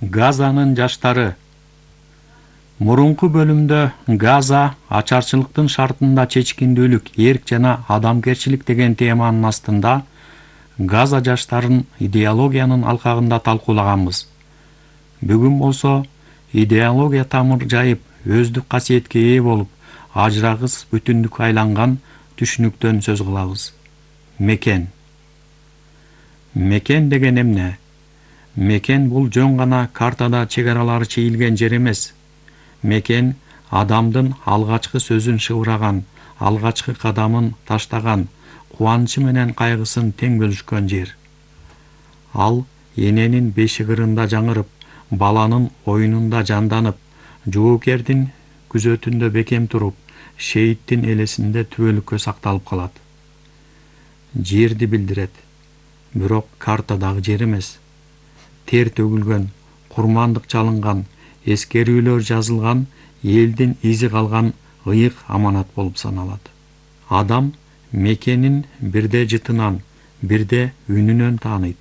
Газанын жаштары. Мурунку бөлүмдө Газа ачарчылыктын шартында чечкиндүүлүк, эрк жана адамгерчилик деген теманын астында Газа жаштарын идеологиянын алкагында талкуулаганбыз. Бүгүн болсо идеология тамыр жайып, өздүк касиетке ээ болуп, ажырагыс бүтүндүккө айланган түшүнүктөн сөз кылабыз. Мекен. Мекен деген эмне? Мекен бул жөн гана картада чек аралары чейилген жер эмес. Мекен адамдын алгачкы сөзүн шыбыраган, алгачкы кадамын таштаган, кубанычы менен кайгысын тең бөлүшкөн жер. Ал эненин бешигырында жаңырып, баланын оюнунда жанданып, жоокердин күзөтүндө бекем туруп, шейиттин элесинде түбөлүккө сакталып калат. Жерди билдирет, бирок картадагы жер эмес. Тер төгүлгөн, курмандык чалынган, эскерүүлөр жазылган, элдин изи калган ыйык аманат болуп саналат. Адам мекенин бирде жытынан, бирде үнүнөн тааныйт.